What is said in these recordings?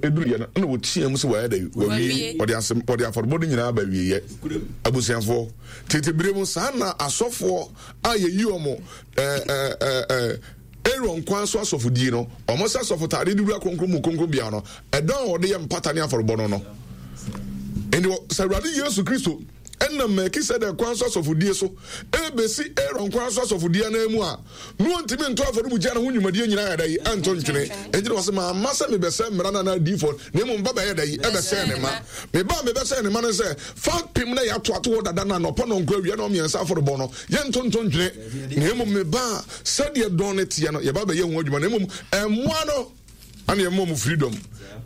duruiɛ no, ɛna ɔteaa mu sɛ wayɛ dɛ, wawie. Ɔde asɛm, ɔde afɔrebɔ no nyinaa ba awieɛ. Abusuafoɔ, tete berɛ mu saa na asɔfoɔ a yɛyi wɔn ɛɛ ɛɛ ɛɛ Aaron kwan so asɔfodie no, wɔn sɛ asɔfotadeɛ de wura kronkron mu kronkron bea no, ɛdɔn a wɔde yɛ mpata ne afɔrebɔ no no. Nti sɛ Awurade Yesu Kristo ɛnam Melkisedek kwan so asɔfodie so ɛrebɛsi Aaron kwan so asɔfodie anan mu a, na ɔntumi nto afɔrebukyia no ho nnwumadie nyinaa yɛ dɛ yi ɛnto ntwene. Enti na ɔsɛ mamma sɛ mebɛsɛ mmara no anaa adiyifoɔ, na mmom ba bɛyɛ dɛ yi ɛbɛsɛe ne ma. Meba a mebɛsɛe ne ma no sɛ fapem na yɛato ato hɔ dada no anɔpa nɔnkoro awia na ɔmmiɛnsa afɔrebɔ no yɛnto nto ntwene, na mmom meba a sɛdeɛ dɔn no teɛ no yɛba bɛyɛ ho adwuma, na mmom mmoa no ana yɛma wɔn freedom.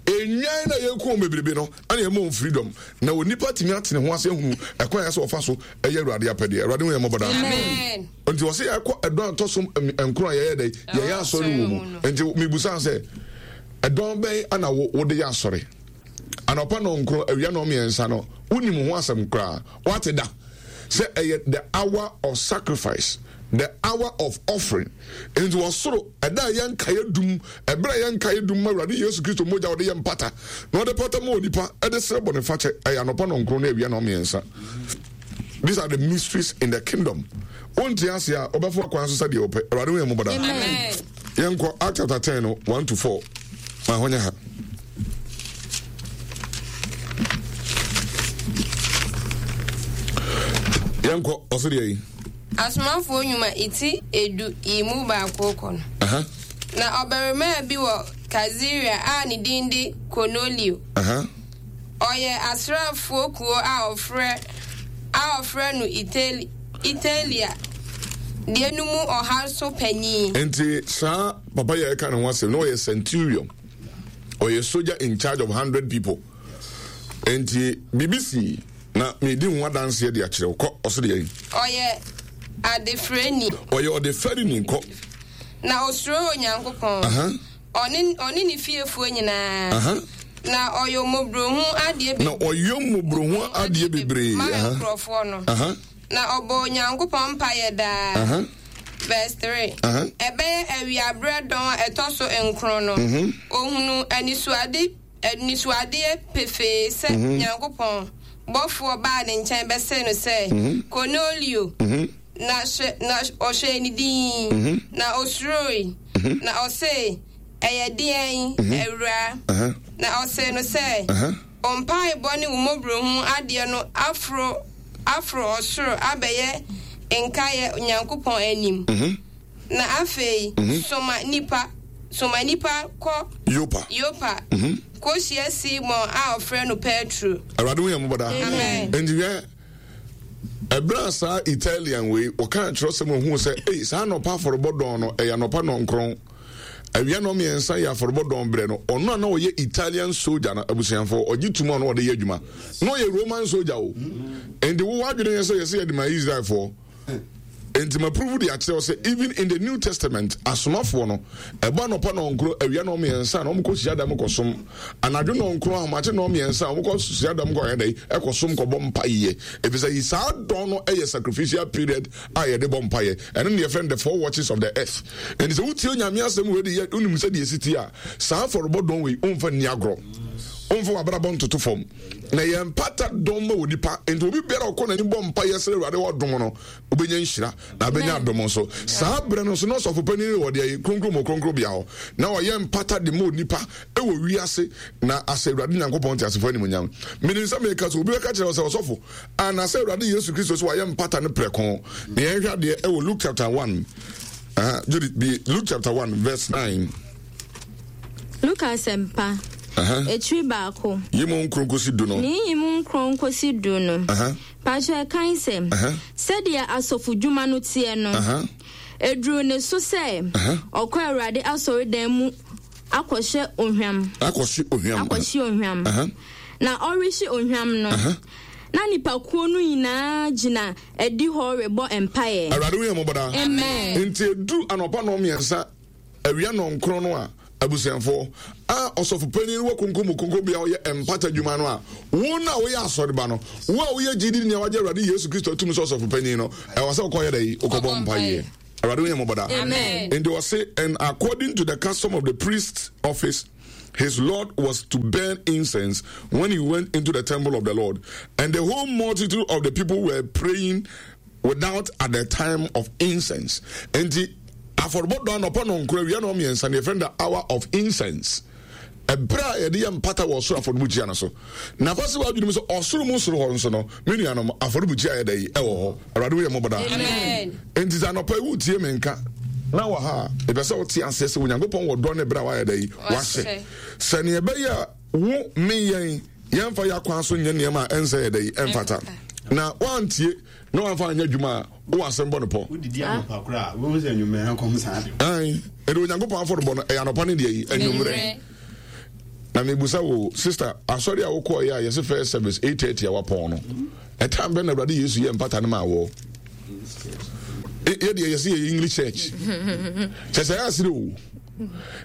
Nnwan na yɛku wɔn bebrebe no ana yɛma wɔn freedom. Na onipa tumi atene ho ase ahunu ɛkwan a ɛsɛ ɔfa so ɛyɛ Awurade apɛdeɛ. Awurade ho yɛ mmɔbɔ daa. Nti wɔsɛ yɛkɔ ɛdɔn atɔ so nkron a yɛyɛ dɛ yɛyɛ asɔre wɔ mu. Nti mibusa sɛ ɛdɔn bɛn ana wode yɛ asɔre? Anɔpa nɔnkron awia nɔmmiɛnsa no wonim ho asɛm koraa wate da sɛ ɛyɛ the hour of sacrifice, the hour of offering. Nti wɔ soro ɛda a ɛyɛ nkaeɛ dum, ɛberɛ a ɛyɛ nkaeɛ dum ma Awurade Yesu Kristo mogya a ɔde yɛ mpata na ɔde pata ma onipa ɛde srɛ bɔne fakyɛ, ɛyɛ anɔpa nɔnkron ne awia nɔmmiɛnsa. These are the mysteries in the kingdom. Wonte ase a wobɛfo akwan so sɛdeɛ wopɛ. Awurade hu yɛn mmɔbɔ daa. Yɛnkɔ Act chapter 10 no 1 to 4. Ma hɔ nyɛ ha. Yɛnkɔ ɔso deɛ yi. Asomafoɔ nnwuma eti edu yi mu baako kɔ no. Na ɔbarimaa bi wɔ Kaesarea a ne din de Kornelio. Ɔyɛ asraafoɔ kuo a wɔfrɛ a wɔfrɛ no Itali Italia deɛ no mu ɔha so panin. Nti saa papa yi a yɛka ne ho asɛm na ɔyɛ centurion, ɔyɛ soldier in charge of hundred people. Nti biribi sii na medi ho adanseɛ de akyerɛ wo. Kɔ, ɔso deɛ yi. Ɔyɛ adefrɛni. Ɔyɛ ɔdefɛreni, kɔ. Na ɔsuro Onyankopɔn. Ɔne, ɔne ne fiefoɔ nyinaa. Na ɔyɔ mmɔborɔhu adeɛ bebree. Na ɔyɔ mmɔborɔhu adeɛ bebree. Ma nkurɔfoɔ no. Na ɔbɔ Onyankopɔn mpaeɛ daa. Verse 3. Ɛbɛyɛ awiaberɛ dɔn a ɛtɔ so nkron no, ɔhunuu anisoade, anisoadeɛ pefee sɛ Nyankopɔn bɔfoɔ baa ne nkyɛn bɛsee no sɛ, Kornelio. Na hwɛ, na ɔhwɛɛ no dinn, na osuroe, na ɔse, Ɛyɛ deɛn, Awuraa? Na ɔsee no sɛ, Wo mpaebɔ ne wo mmɔborɔhunu adeɛ no aforo aforo ɔsoro abɛyɛ nkaeɛ Onyankopɔn anim. Na afei soma nnipa, soma nnipa kɔ Yopa, Yopa kɔhyia Simon a ɔfrɛ no Petro. Awurade hu yɛn mmɔbɔ daa. Amen. Enti hwɛ, Ɛberɛ a saa Italian wei wɔkaa kyerɛsɛm ohuu sɛ ei saa anɔpa afɔrebɔ dɔn no ɛyɛ anɔpa nɔnkron awia nɔ mmiɛnsa yɛ afɔrebɔ dɔn berɛ no ɔno a na ɔyɛ Italian soldier no abusuafoɔ ɔgye tum a na ɔde yɛ adwuma na ɔyɛ Roman soldier o nti wowɔ adwene yɛ sɛ yɛsɛ yɛde ma Israelfoɔ Enti ma prove de akyerɛ wo sɛ even in the New Testament asomafoɔ no ɛbɔ anɔpa nɔnkoro awia nɔmmiɛnsa na wɔkɔ hyiadam kɔsom anadwo nɔnkoro ahomakye nɔmmiɛnsa a wɔkɔ hyiadam kɔ yɛ dɛ ɛkɔsom kɔbɔ mpaeɛ efisɛ yi saa dɔn no ɛyɛ sacrificial period a yɛde bɔ mpaeɛ ɛno ne yɛfrɛ no the four watches of the earth ɛnti sɛ wotie Onyame asɛm wei de yɛ wonim sɛ deɛ ɛsi tie a saa afɔrebɔ dɔn wei womfa nni agorɔ womfa w'abrabɔ ntoto fam Na yɛ mpata dɔm ma onipa, nti obi biara ɔkɔ n'anim bɔ mpa yɛ srɛ Awurade ɔdom no, wobɛnya nhyira na abɛnya adom nso. Saa berɛ no nso na ɔsɔfo panin wɔ deɛ kronkron mu kronkron bea hɔ, na ɔyɛ mpata de ma onipa wɔ wiase na asɛ Awurade Nyankopɔn teasefoɔ animuonyam. Menim sɛ meka sɛ obi bɛka kyerɛ wo sɛ ɔsɔfo, anaasɛ Awurade Yesu Kristo sɛ wayɛ mpata no prɛko. Na yɛnhwɛ adeɛ ɛwɔ Luke chapter 1, uh, Judith, be Luke chapter 1 verse 9. Luka Asɛmpa, etiri baako. Yi mu nkron kosi du no. Ne yi mu nkron kosi du no. Pakyɛ kan sɛ, sɛdeɛ asɔfodwuma no teɛ no, eduruu ne so sɛ ɔkɔ Awurade asɔredan mu akɔhyɛ ohwam. Akɔhye ohwam. Akɔhye ohwam. Na ɔrehye ohwam no, na nnipakuo no nyinaa gyina adihɔ rebɔ mpaeɛ. Awurade hu yɛn mmɔbɔ daa. Amen. Nti eduru anɔpa nnɔnmiɛnsa. Awia nnɔnkron no a, abusuafoɔ, a ɔsɔfopanin wɔ kronkron mu kronkronbea a ɔyɛ mpata adwuma no a, wo no a woyɛ asɔreba no, wo a woyɛ gyidi ni a wagye Awurade Yesu Kristo atum sɛ ɔsɔfopanin no, ɛwɔ sɛ wokɔyɛ dɛ wokɔbɔ mpaeɛ. Awurade wo yɛ mmɔbɔ daa. Nti ɔse, and according to the custom of the priest's office, his Lord, was to burn incense when he went into the temple of the Lord. And the whole multitude of the people were praying without at the time of incense. Enti afɔrebɔ dɔ anɔpa nɔnkoro awia na ɔmmiɛnsa no yɛfrɛ no the hour of incense. Ɛberɛ a yɛde yɛ mpata wɔ ɔsoro afɔrebukyia no so. Na fa si w'adwene mu sɛ ɔsoro mu soro hɔ nso no, me nuanom, afɔrebukyia yɛ dɛ yi ɛwɔ hɔ. Awurade wo yɛ mmɔbɔ daa. Enti sɛ anɔpa yi wotie me nka na wɔ ha a, mepɛ sɛ wote aseɛ sɛ Onyankopɔn wɔ dɔ ne berɛ a wayɛ dɛ yi wahyɛ. Sɛ neɛ ɛbɛyɛ a wo me yɛn yɛmfa yɛ akwan so nyɛ nneɛma a ɛnsɛ yɛ dɛ yi ɛmfata. Na woantie na wamfa anyɛ adwuma a wowɔ asɛm bɔ no pɔ. Wodidi anɔpa koraa a, wobɛhu sɛ anwummerɛ nkɔm saa de. Ae, ɛde Onyankopɔn afɔrebɔ no ɛyɛ anɔpa ne deɛ yi anwummerɛ. Na mebusa wo sister, asɔre a wokɔɔyɛ a yɛse first service 8:30 a wapɔn no, ɛtan bɛn na Awurade Yesu yɛ mpata no maa wɔ? Yɛ deɛ yɛse yɛyɛ English church. Kyɛ sɛ ɛyɛ asere o.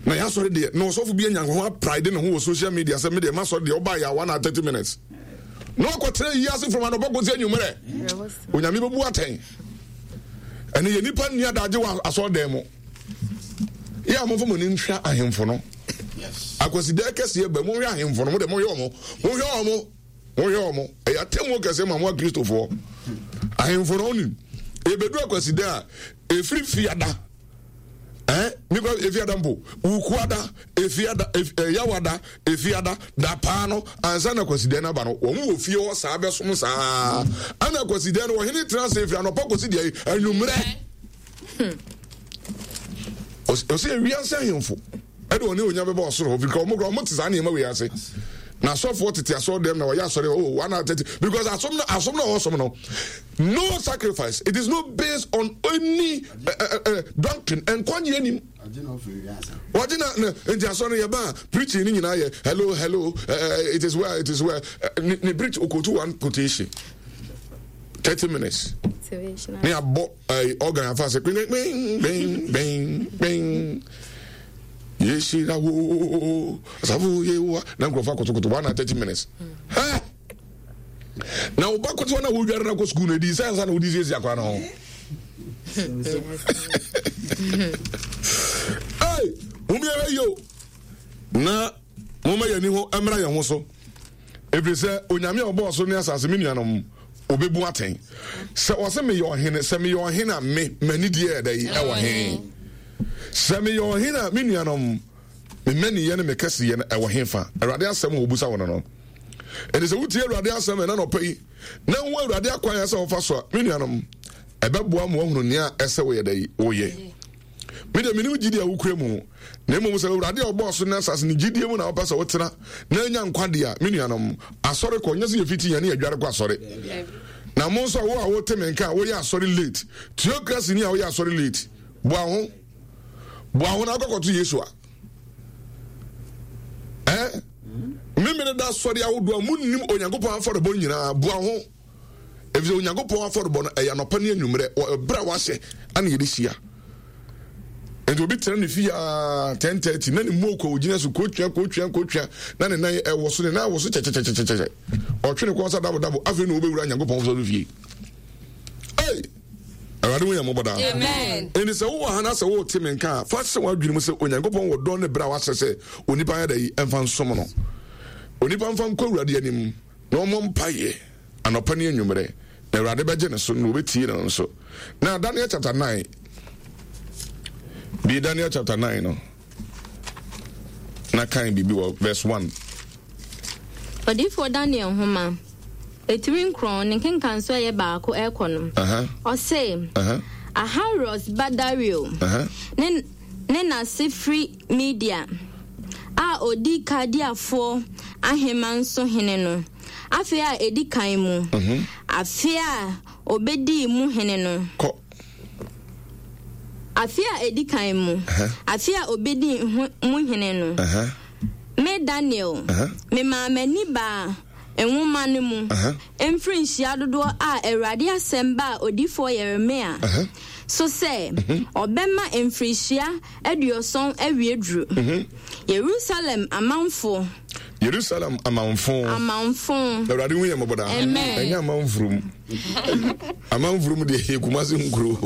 Na yɛasɔre deɛ na ɔsɔfo bi anya ho apride ne ho wɔ social media sɛ me deɛ masɔre deɛ ɔbaa yɛ a 1 hour 30 minutes. Na wakɔtena yi ase from anɔpa kɔsi anwummerɛ. Onyame bɛbu atɛn. Ɛne yɛ nipa nni adagye wɔ asɔredan mu. Yɛ a momfa mo ani nhwɛ ahemfo no. Akwasidɛ kɛseɛ ba monhwɛ ahemfo no mo deɛ monhwɛ ɔmo monhwɛ ɔmo monhwɛ ɔmo ɛyɛ atemmuo kɛseɛ ma mo akristofoɔ ahemfo no onim ebedu akwasidɛ a efiri fiada ɛn mikɔ efiada mpo wukuada efiada ɛyawada efiada dapaa no ansa na akwasidɛ no aba no wɔn wɔ fie hɔ saa bɛsom saa ɛna akwasidɛ no ɔhene tena ase efiri anɔpa kɔsi deɛ anwummerɛ. Ɔsɛ ewiase ahemfo ɛde ɔne onya bɛba ɔsoro hɔ because ɔmo kora ɔmo te saa nneɛma wei ase na asɔfoɔ tete asɔre dɛm na wɔyɛ asɔre oh 1 hour 30 because asom no asom na ɔsom no no sacrifice, it is not based on any doctrine. Nkwagye anim wɔgye na na nti asɔre yɛ ba preaching ne nyinaa yɛ hello hello, it is well, it is well. Ne ne preach okotu one quotation 30 minutes ne abɔ organ afa sɛ kpin kpin kpin kpin kpin yɛhyira wo asafo yehowa na nkurɔfoɔ akotokoto 1 hour 30 minutes. Hɛ na wo ba kotoa na wodware no akɔ sukuu no ɛdi sɛ ansa na wode siesie akora no ho. Ei, momiɛhwɛ yo na momma yɛni ho mmra yɛn ho so ɛfiri sɛ Onyame a ɔbɔɔ so ne asase, me nuanom, ɔbɛbu atɛn sɛ ɔsɛ meyɛ ɔhene. Sɛ meyɛ ɔhene a, me m'ani deɛ ɛda yi ɛwɔ he? Sɛ meyɛ ɔhene a, me nuanom, me mmaniyɛ ne me kɛseyɛ no ɛwɔ he fa? Awurade asɛm a ɔbusa wo no, ɛnti sɛ wotie Awurade asɛm ɛna nɔpɛ yi na wo Awurade akwan a sɛ wɔfa so a, me nuanom, ɛbɛboa ma woahunu nea ɛsɛ woyɛ dɛ yi woyɛ. Me deɛ menim gyidie a wokura mu, na mmom sɛ Awurade a ɔbɔɔ so ne asase ne gyidie mu na wopɛ sɛ wotena na anya nkwa deɛ a, me nuanom, asɔre kɔ nyɛ sɛ yɛfiti yɛne yɛdware kɔ asɔre. Na mo nso a wo a wote me nka a woyɛ asɔre late, theocracy ni a woyɛ asɔre late, boa ho boa ho na akɔkɔto Yesu a eh memene da asɔre ahodoɔ a monnim Onyankopɔn afɔrebɔ nyinaa, boa ho efisɛ Onyankopɔn afɔrebɔ no ɛyɛ anɔpa ne anwummerɛ wɔ ɛberɛ a wahyɛ ana yɛde hyia. Nti obi tena ne fie aa 10:30 na ne mu okɔ ogyina so kotwia kotwia kotwia na ne nan ɛwɔ so, ne nan ɛwɔ so kyɛkyɛkyɛkyɛkyɛ, ɔtwe ne kɔn sa dabo dabo, afei na ɔbɛwura Nyankopɔn sɔre fie. Ei, Awurade wo yɛ mmɔbɔ daa. Ɛnti sɛ wowɔ ha na sɛ wote me nka a, fa hyɛ w'adwene mu sɛ Onyankopɔn wɔ dɔn ne berɛ a wahyɛ sɛ onipa yɛ da yi ɛmfa nsom no, onipa mfa nkɔ Awurade anim na ɔmmɔ mpaeɛ anɔpa ne anwummerɛ, na Awurade bɛgye ne so na wɔbɛtie no nso. Na Daniel chapter 9 bi, Daniel chapter 9 no na kan biribi wɔ verse 1. Odiyifoɔ Daniel nhoma, etiri 9, ne nkenkanso a ɛyɛ 1 ɛrekɔ no, ɔse, Ahasweros ba Dario ne n'ase firi Media a ɔdi Kaldeafoɔ ahemman so hene no afe a ɛdi kan mu, afe a ɔbɛdii mu hene no. Kɔ. Afe a ɛdi kan mu, afe a ɔbɛdii mu hene no, me Daniel, memaa m'ani baa nwoma no mu mfirinhyia dodoɔ a Awurade asɛm baa odiyifoɔ Yeremia so sɛ ɔbɛma mfirihyia 70 awie duru. Yerusalem amanfoɔ. Yerusalem amanfo. Amanfo. Awurade hu yɛn mmɔbɔ daa. Amen. Ɛnyɛ amanfurum. Amanfurum deɛ yɛ Kumasi nkuro.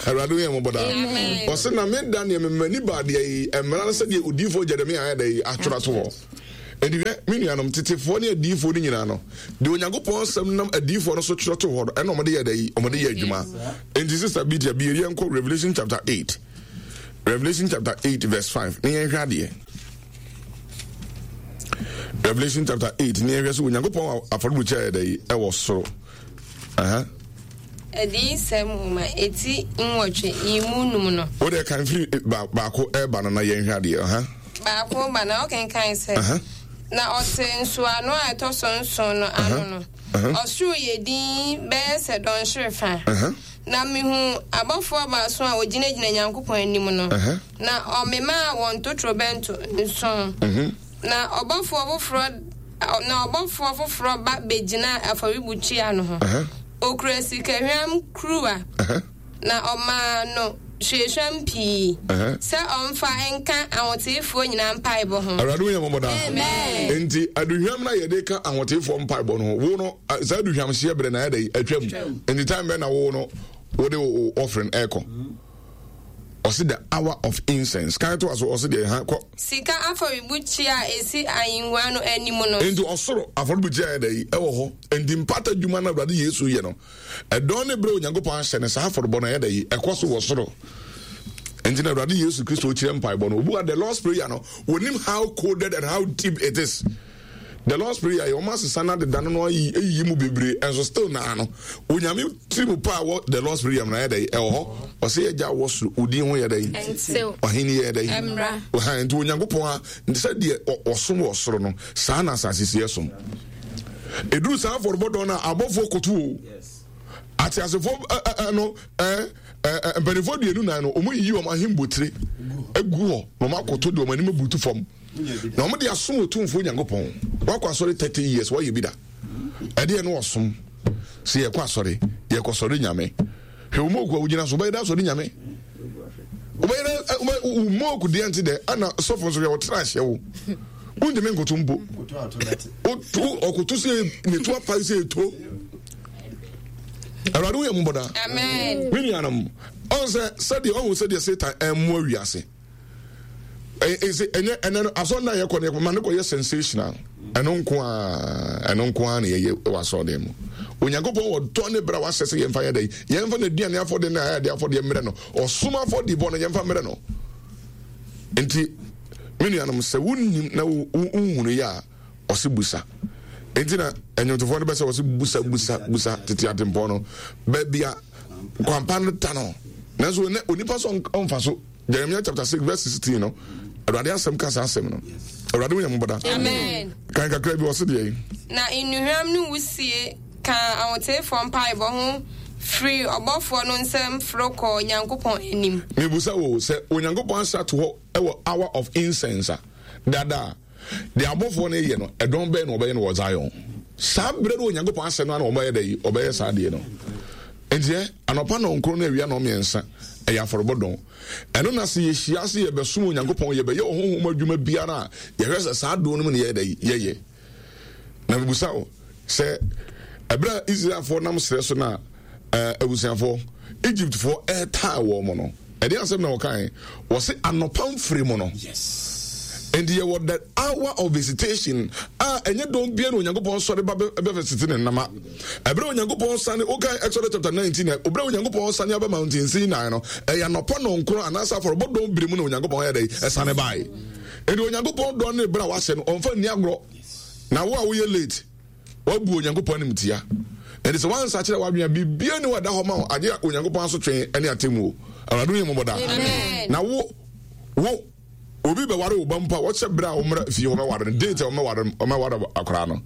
Awurade hu yɛn mmɔbɔ daa. Amen. Ɔsɛ na me da neɛ memani baa deɛ yi mmara no sɛdeɛ odiyifoɔ Jeremia ayɛ dɛ yi atwerɛ ato hɔ. Enti hwɛ, me nuanom, tetefoɔ ne adiyifoɔ no nyinaa no, deɛ Onyankopɔn asɛm nam adiyifoɔ no so twerɛ to hɔ no, ɛna wɔde yɛ dɛ yi, wɔde yɛ adwuma. Enti Sister Bitia, bie yɛnkɔ Revelation chapter 8. Revelation chapter 8 verse 5. Ne yɛnhwɛ adeɛ. Revelation chapter 8 ne yɛhwɛ sɛ Onyankopɔn afɔrebukyia yɛ dɛ yi ɛwɔ soro. Adiyisɛm nwoma eti nwɔtwe yi mu num no. Wo deɛ kan firi eh, baako ɛreba no na yɛnhwɛ adeɛ. Baako ba na ɔkenkan sɛ, na ɔte nsoano a ɛtɔ so nson no ano no, ɔsoro yɛ dinn bɛyɛ sɛ dɔnhwere fa. Na mihuu abɔfoɔ baason a wɔgyinagyina Nyankopɔn anim no, na ɔmemaa wɔn totorobɛnto nson. Mhm. Na ɔbɔfoɔ foforɔ na ɔbɔfoɔ foforɔ ba bɛgyinaa afɔrebukyia no ho. Ɔkura sikahwam kuruwa, na ɔmaa no hwiehwam pii sɛ ɔmfa nka ahoteefoɔ nyinaa mpaebɔ ho. Awurade hu yɛn mmɔbɔ daa. Amen. Enti aduhwam na yɛde ka ahoteefoɔ mpaebɔ no ho. Wo no, saa aduhwam hyeɛ berɛ na ayɛ dɛ atwam. Enti time bɛn na wo no wode wo offering ɛkɔ? Ɔse the hour of incense. Kan to aso ɔse deɛ ha kɔ. Sika afɔrebukyia a esi ahengua no anim no. Enti ɔsoro afɔrebukyia yɛ dɛ ɛwɔ hɔ. Enti mpata dwuma no Awurade Yesu yɛ no. Ɛdɔn ne berɛ Onyankopɔn ahyɛ no saa afɔrebɔ no ɛyɛ dɛ yi ɛkɔ so wɔ soro. Enti na Awurade Yesu Kristo kyerɛ mpaebɔ no. Obu a the Lord's Prayer no, wɔnim how coded and how deep it is. The Lord's Prayer yɛ wɔn asesa no adeda no no ayi eyiyi mu bebree ɛnso still naa no Onyame tiri mu paa wɔ The Lord's Prayer mu na yɛ dɛ ɛwɔ hɔ. Ɔsɛ yɛ gya wɔ soro odin ho yɛ dɛ ɔhene yɛ dɛ ɔhan nti Onyankopɔn a nti sɛ deɛ ɔsom wɔ soro no saa na asase si ɛsom. Eduru saa afɔrebɔ dɔn no a abɔfoɔ koto o. Ateasefoɔ no mpanimfoɔ aduonu nan no wɔn yiyi wɔn ahembotire egu hɔ na wɔn akoto de wɔn anim abutu fam. Na wɔn de asom Otumfoɔ Nyankopɔn. Wakɔ asɔre 30 years wɔyɛ bi da. Ɛdeɛ no ɔsom. Sɛ yɛkɔ asɔre, yɛkɔ sɔre Nyame. Hwɛ wo moku a wogyina so, wobɛyɛ dɛ asɔre Nyame. Wobɛyɛ dɛ wo moku deɛ nte dɛ, ana sɔfo nso hwɛ wɔtena ahyɛ wo. Wontumi nkoto mpo. Ɔkoto sɛ ne to apae sɛ eto. Awurade woyɛ mmɔbɔ daa. Me nuanom, ɔn sɛ sɛdeɛ ɔhu sɛdeɛ Satan ɛmmoa wiase. Ɛsɛ ɛnyɛ ɛnɛ no asɔre no a yɛkɔ no yɛkɔ ma no kɔyɛ sensational. Ɛno nko ara ɛno nko ara na yɛyɛ wɔ asɔre mu. Onyankopɔn wɔ dɔ ne berɛ a wahyɛ sɛ yɛmfa yɛ dɛ yɛmfa n'aduane afɔdeɛ ne ayɛde afɔdeɛ mmerɛ no ɔsom afɔdeɛ no yɛmfa mmerɛ no. Nti me nuanom sɛ wonnim na wonhunu yɛ a ɔse busa. Nti na ɛnwomtofoɔ no bɛ sɛ ɔse busa busa busa tete atempɔn no baabi a kwampa no ta no nanso onipa sɛ ɔmfa so. Jeremiah chapter 6 verse 16 no Awurade asɛm ka saa asɛm no. Awurade wo yɛ mmɔbɔ da. Amen. Kan kakra bi ɔse deɛ yi. Na nnuhwam no wusie kaa ahoteefoɔ mpaebɔ ho firii ɔbɔfoɔ no nsam foro kɔɔ Nyankopɔn anim. Mebusa wo sɛ Onyankopɔn ahyɛ ato hɔ wɔ hour of incense a dada a Deɛ abɔfoɔ no reyɛ no, ɛdɔn bɛn na wɔbɛyɛ no wɔ Zion? Saa berɛ no Onyankopɔn asɛm no ara na wɔbɛyɛ dɛ yi, wɔbɛyɛ saa adeɛ no. Enti ɛ, anɔpa nnɔnkron ne awia nnɔnmiɛnsa, ɛyɛ afɔrebɔ dɔn. Ɛno na sɛ yɛhyia ase yɛbɛsom Onyankopɔn, yɛbɛyɛ ɔhonhom adwuma biara a, yɛhwɛ sɛ saa dɔn no mu na yɛyɛ dɛ yi, yɛyɛ. Na mebusa wo sɛ, ɛberɛ a Israelfoɔ nam serɛ so no a, abusuafoɔ, Egyptfoɔ ɛretaa wɔn no, ɛdeɛ asɛm na wɔkae? Wɔse anɔpa mfiri mu no. Nti yɛwɔ the hour of visitation a ɛnyɛ dɔn bia na Onyankopɔn sɔre ba bɛvisite ne nnama. Ɛberɛ Onyankopɔn sane, wokae Exodus chapter 19, ɛberɛ Onyankopɔn sane aba Mountain Sinai no, ɛyɛ anɔpa nɔnkron anaasɛ afɔrebɔ dɔn bere mu na Onyankopɔn yɛ dɛ ɛsane bae. Enti Onyankopɔn dɔ ne berɛ a wahyɛ no, ɔmfa nni agorɔ. Na wo a woyɛ late, woabu Onyankopɔn animtia. Enti sɛ woansakyera w'adwene a, biribiara nni hɔ a ɛda hɔ ma wo agye Onyankopɔn asotwe ne atemmuo. Awurade hu yɛn mmɔbɔ daa. Na wo, wo, obi bɛware wo ba mpo a, wɔhyɛ berɛ a wɔmmra fie hɔ bɛware no, date a wɔmmɛware, wɔmmɛware akwaraa no.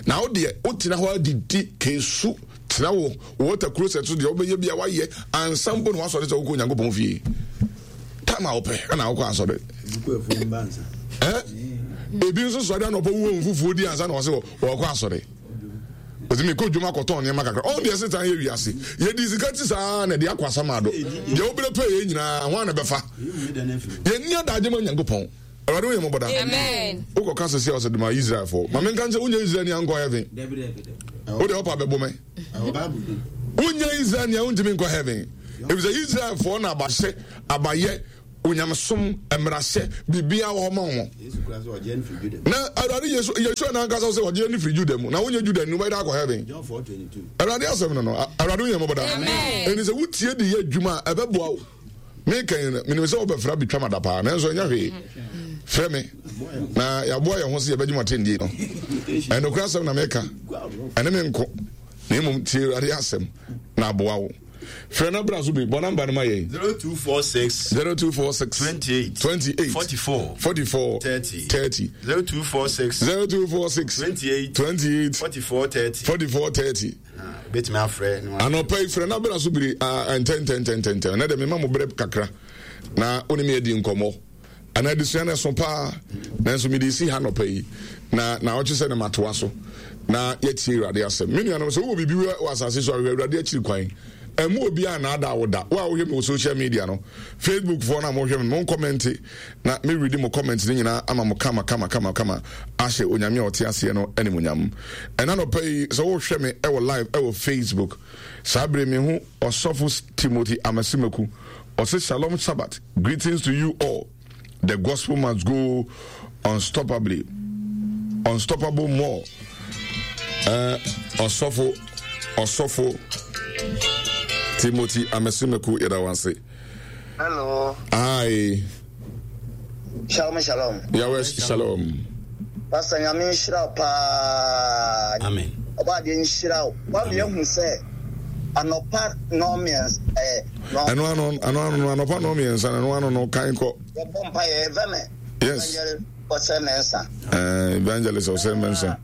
Na wo deɛ, wotena hɔ adidi kesu, tena wo water closet so deɛ wobɛyɛ bi a woayɛ ansa mpo na woasɔre sɛ wokɔ Onyankopɔn fie. Time a wopɛ ɛna wokɔ asɔre. Ebi nso sɔre anɔpa wuo mfufuo di ansa na wɔsɛ wɔkɔ asɔre. Ɔsɛ mekɔ dwom akɔtɔn nneɛma kakra. Ɔn deɛ setan yɛ wiase. Yɛdi sika ti saa na ɛde akɔ asama do. Deɛ wobere pɛ yɛ nyinaa ho ana bɛfa. Yɛnni adagye ma Nyankopɔn. Awurade wo yɛ mmɔbɔ da. Wokɔ ka sɛsi a ɔsɛ dema Israelfoɔ. Ma menka nkyɛ wonyɛ Israel ni ankɔ heaven. Wode ɔpa bɛbo me. Wonyɛ Israel ni a wontumi nkɔ heaven. Efisɛ Israelfoɔ na abahyɛ abayɛ onyamesom mmarahyɛ biribiara wɔ hɔ ma wɔn. Na Awurade Yesu Yeshua n'ankasa sɛ ɔgye ne firi Juda mu na wonyɛ Juda ni wobɛyɛ dɛ akɔ heaven. Awurade asɛm no no Awurade woyɛ mmɔbɔ da. Ɛni sɛ wotie de yɛ adwuma a ɛbɛboa wo. Meka yi no menim sɛ wobɛfra bi twa mada paa nanso ɛnyɛ hwee. Frɛ me na yɛaboa yɛn ho sɛ yɛbɛgye mo atɛndie no. Ɛnokora asɛm na meka ɛne me nko na mmom tie Awurade asɛm na aboa wo. Frɛ na bra so bi. Bɔ namba no ma yɛn. 0246. 0246. 28. 28. 44. 44. 30. 30. 0246. 0246. 28. 28. 44 30. 44 30. Bɛtumi afrɛ. Anɔpa yi frɛ na bra so biri ntɛntɛntɛntɛntɛn. Na deɛ mema mo berɛ kakra na wo ne me adi nkɔmmɔ. Anaa adesua no ɛso paa, nanso mede resi ha nɔpa yi, na naawɔtwe sɛ na matoa so na yɛatie Awurade asɛm. Me nuanom, sɛ wowɔ biribi wɔ asase so a, hwehwɛ Awurade akyiri kwan. Ɛmmu obiara nnaadaa wo da. Wo a wohwɛ me wɔ social media no, Facebook foɔ no a mohwɛ me, mo nkɔmɛnte na me readi mo comment no nyinaa ama mo kama kama kama kama ahyɛ Onyame a ɔte aseɛ no animuonyam. Ɛna nɔpa yi, sɛ wohwɛ me ɛwɔ live ɛwɔ Facebook, saa bere mehu Ɔsɔfo Timothy Amasimaku, ɔse Shalom Shabbat. Greetings to you all. The gospel must go unstoppably. Unstoppable more. Uh, Osofo, Osofo, Timothy Amesimeku Yedawase. Hello. Hi. Shalom, shalom. Yahweh, shalom. Pastor Nyame nhyira wo paa. Amen. Ɔba adeɛ nhyira wo. Wama yɛahu sɛ anɔpa nnɔnmiɛnsa ɛɛ. Ɛno ano ano ano no anɔpa nnɔnmiɛnsa no ɛno ano no kan kɔ. Yɛbɔ mpa yɛ ɛvɛmɛ. Yes. Evangelist Ɔsɛ Mɛnsa. Ɛɛ Evangelist Ɔsɛ Mɛnsa.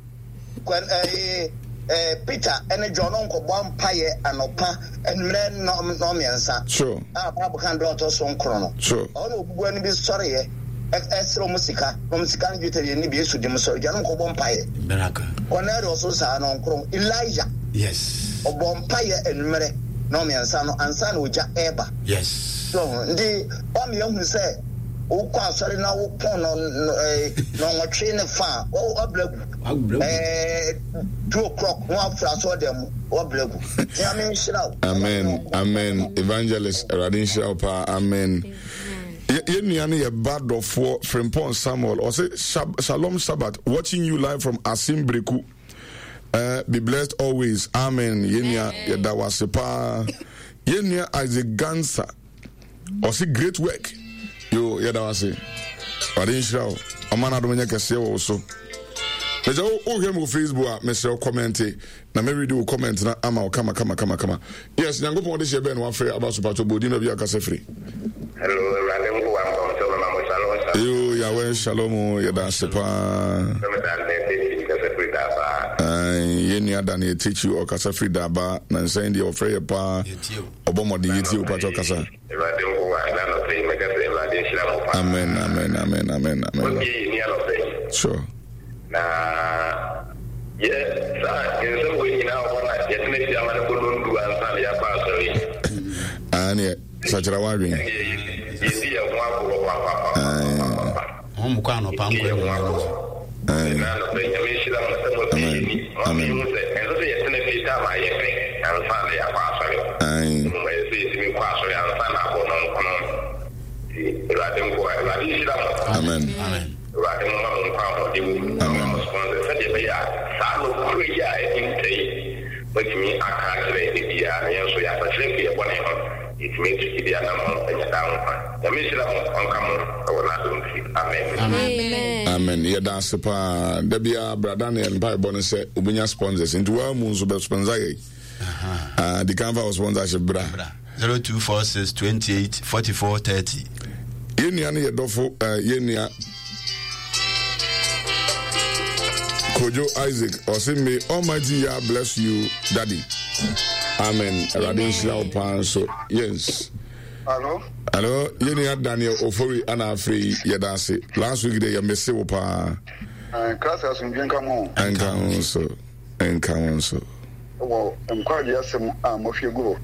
Kwan ɛɛ ɛɛ Peter ɛne John nkɔbɔ mpa yɛ anɔpa mmerɛ nnɔnmiɛnsa. Sure. A Bible kan dɔn ɔtɔ so nkron no. Sure. Ɔno obubuani no bi sɔreɛ ɛsrɛ wɔn sika na wɔn sika no dwetɛ deɛ ne bi esu di mu sɔre gya no nkɔbɔ mpaeɛ. Miracle. Cornelius nso saa no nkron Elijah. Yes. Ɔbɔ mpaeɛ anwummerɛ nnɔnmiɛnsa no ansa na ogya ɛreba. Yes. So nti wɔn yɛ hu sɛ wokɔ asɔre na wopɔn no nnɔnwɔtwe ne fa a wabla gu. Ɛɛ 2 o'clock na wafra asɔre dɛm mu wabla gu. Nyame nhyira wo. Amen amen evangelist Awurade nhyira wo paa amen. Yɛn nua no yɛ ba dɔfoɔ Frimpong Samuel ɔse Shalom Shabbat watching you live from Asim Breku uh, be blessed always amen yɛn nua yɛda wase paa yɛn nua Isaac Gansa ɔse great work yo yɛda wase wade nhyira wo ɔma no adom nyɛ kɛseɛ wɔ wo so mesɛ wohwɛ me wɔ Facebook a mesrɛ wo kɔmɛnte na me read wo comment na ama wo kama kama kama kama yes nyankopɔn de hyɛ bɛn na wafrɛ aba so patɔ bɔ odin baabi akasa firi. Hello awurade nkoa mpɔmtɔ mema mo shalom shalom. Yo Yahweh shalom yɛda ase paa. Sɛ meda Daniel Techi kasa firi Daabaa. Yɛn nua Daniel Techi ɔkasa firi Daabaa na nsɛn deɛ ɔfrɛ yɛ paa ɔbɔ mmɔden yɛtie wo patɔ kasa. Awurade nkoa ɛna anɔpa yi mɛka sɛ Awurade nhyira mo paa. Amen amen amen amen amen. Wabie yɛn ni anɔpa yi. Sure. Na yɛ saa nsɛm wei nyinaa wɔ hɔ na yɛtena fie ama no bɔ nondu ansa na yɛakɔ asɔre yi. Ah, neɛ sakyera w'adwene. Yɛdi yɛn ho agorɔ papapapapapa. Wɔn mu kɔ anɔpa nkɔ Yɛdi yɛn ho agorɔ. Na anɔpa yi Nyame nhyira mo sɛ mo abie yɛn ani. Mo ama yɛhu sɛ ɛnsɛ sɛ yɛtena fie time a yɛpɛ ansa na yɛakɔ asɔre. Mmom ɛsɛ sɛ yɛtumi kɔ asɔre ansa na abɔ nɔnkono. Nti Awurade nkoa, Awurade nhyira mo. Amen. Awurade momma mo nkwa ahoɔden wɔ mu na ɔmma mo sponsors sɛdeɛ ɛbɛyɛ a saa nokorɛ yi a ahinta yi moatumi aka akyerɛ ebiara na yɛn nso yɛasakyera afiri yɛn bɔne ho yɛatumi atu gyidie anammɔn anya daa nkwa. Nyame nhyira mo ɔnka mo wɔ n'adom nti. Amen. Amen yɛda ase paa da biara bra Daniel mpaebɔ no sɛ obɛnya sponsors nti waa mu nso bɛ sponsor yɛ ah, di kan fa wo sponsorship bra 0246 28 44 30. Yɛn nua no yɛ dɔfo eh, yɛn nua Kojo Isaac ɔse may Almighty Yah bless you daddy. Amen. Awurade nhyira wo paa nso. Yes. Hello. Hello. Yɛn nua Daniel Ofori ana afei yi yɛda ase. Last week de yɛ mese wo paa. Krasɛ asomdwe nka mo. Nka ho nso. Nka ho nso. Wɔ nkwagye asɛm a moahwie agu hɔ.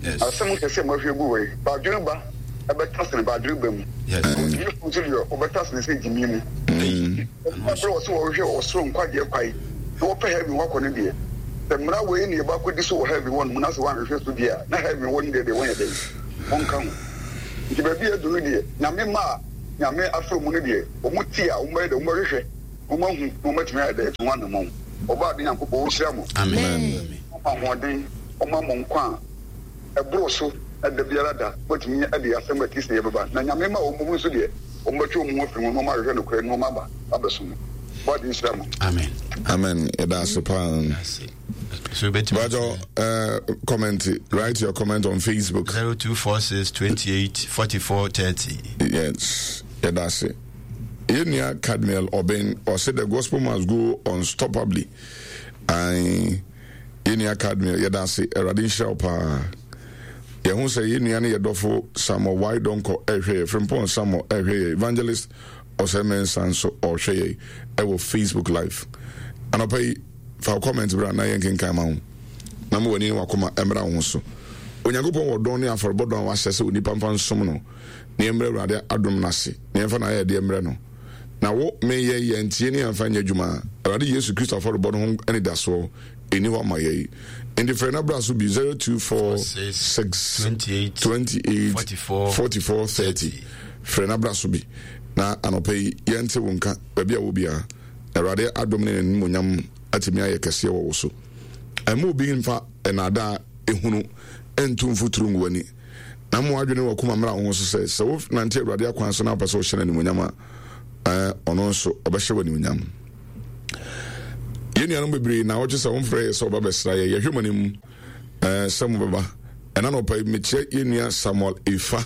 Yes. Asɛm kɛse a moahwie agu hɔ yi, badwene ba. Ɛbɛtasene ba adwene ba mu. Na ogyimifoɔ nso deɛ, ɔbɛtasene sɛ gyimii mu. Ɛberɛ a wɔse wɔhwehwɛ ɔsoro nkwagyeɛ kwan na wɔpɛ heaven hɔ akɔ no deɛ, sɛ mmara wei na yɛbɔ akɔdi so wɔ heaven hɔ nom na sɛ wɔanhwehwɛ so deɛ a, na heaven hɔ no deɛ deɛ wɔnyɛ dɛn? Wɔnka ho. Nti baabi a aduru no deɛ, Nyame mma a Nyame afrɛ wɔn no deɛ, wɔn te a, wɔbɛyɛ dɛn? Wɔbɛhwehwɛ na wɔahu na wɔatumi ayɛ dɛn? Atu ho anammɔn. Ɔbɔade Nyankopɔn ɔnhyira mo. Amen. Ɔmma ahoɔden, ɔmma mo nkwa a. ɛboro so na da biara da wɔatumi de asɛm a ɛte sɛɛ bɛba, na Nyame mma a wɔmmom nso deɛ, wɔbɛtwe wɔn ho afiri ho na wɔahwehwɛ nokorɛ na wɔaba abɛsom no. Bɔade nhyira mo. Amen. Amen. Yɛda ase paa. So betumi. Bajo, comment, write your comment on Facebook. 0246 28 44 30. Yes. Yɛda ase. Yɛn nua Cadmiel Obeng, ɔse the gospel must go unstoppably. Aye. Yɛn nua Cadmiel, yɛda ase. Awurade nhyira wo paa. Yɛhu sɛ yɛn nua ne yɛ dɔfo Samuel Y. Donkor ɛrehwɛ yɛ. Frimpong Samuel ɛrehwɛ yɛ. Evangelist Osei Mensah nso ɔrehwɛ yɛ ɛwɔ Facebook Live. Anɔpa yi, fa wo comment bra na yɛnkenkan ma wo. Na ma w'ani ne w'akoma mmra wo ho so. Onyankopɔn wɔ dɔn ne afɔrebɔ dɔn a wahyɛ sɛ onipa mfa nsom no, na yɛmmrɛ Awurade adom no ase, na yɛmfa n'ayɛyɛdeɛ mmrɛ no. Na wo, me, yɛn, yɛantie ne yɛamfa anyɛ adwuma a, Awurade Yesu Kristo afɔrebɔ no ho anidasoɔ nni hɔ ma yɛn. Enti frɛ na bra so bi 0246 28 44 30. Frɛ na bra so bi na anɔpa yi yɛnte wo nka baabi a wɔ biara. Awurade adom ne n'animuonyam atumi ayɛ kɛseɛ wɔ wo so. Ɛmma obi mfa nnaadaa ehunu ntu mfuturo ngu w'ani. Na ma w'adwene ne w'akoma mmra wo ho so sɛ, sɛ wonante Awurade akwan so na wopɛ sɛ wohyɛ no animuonyam a, ɛɛ, ɔno nso ɔbɛhyɛ wo animuonyam. Yɛn nuanom bebree na wɔtwe sɛ wɔmfrɛ yɛ sɛ wɔba bɛsra yɛ. Yɛhwɛ mo anim ɛɛ, sɛ mobɛba. Ɛna nɔpa yi mekyerɛ yɛn nua Samuel Efa.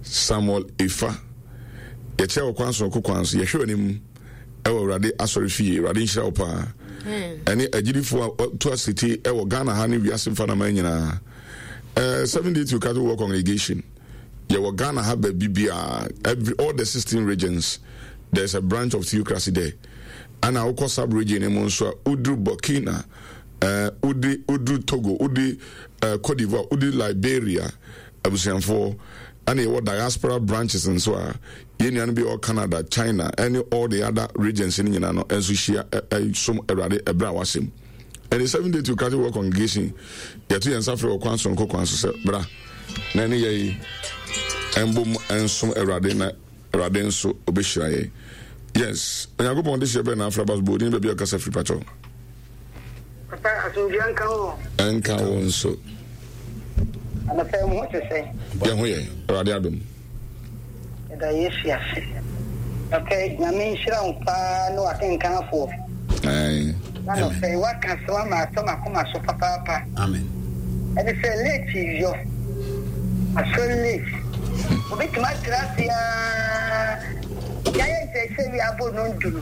Samuel Efa. Yɛkyerɛ wɔ kwan sononko kwan so. Yɛhwɛ w'anim ɛwɔ Awurade asɔre fie. Awurade nhyira wo paa. Ɛne agyidifoɔ a wɔtu asete ɛwɔ Ghana ha ne wiase mfanaman nyinaa. 7 Day Theocratic World Congregation yɛwɔ Ghana ha baabi biara, every all the 16 regions there's a branch of theocracy there. Ana wokɔ sub region mu nso a woduru Burkina, wodi woduru Togo, wodi Cote d'Ivoire, wodi Liberia, abusuafoɔ ɛna yɛwɔ diaspora branches nso a yɛn nuanom bi wɔ Canada, China ɛne all the other regions no nyinaa no nso hyia ɛsom Awurade ɛberɛ a wahyɛ mu. Ɛne Seventh Day Theocratic World Congregation yɛto yɛn nsa frɛ wɔ kwan soronko kwan so sɛ bra na ɛne yɛn mbom nsom Awurade na Awurade nso ɔbɛhyira yɛn. Yes, Onyankopɔn de hyɛ bɛn na afra ba so bɔ odin baabi a ɔkasa firi pakyɛw. Papa asomdwoeɛ nka wo. Ɛnka wo nso. Anɔpa yi mo ho te sɛn? Yɛn ho yɛ, Awurade adom. Yɛda Yesu ase. Anɔpa yi Nyame nhyira wo paa ne w'akenkanfoɔ. Ae. Na anɔpa yi w'aka asɛm ama atɔ m'akoma so papaapa. Amen. Ɛne sɛ late yɔ. Asɔre late. Obetumi atena ase aa. Yɛayɛ nkyerɛkyerɛ wie abɔ nondu no.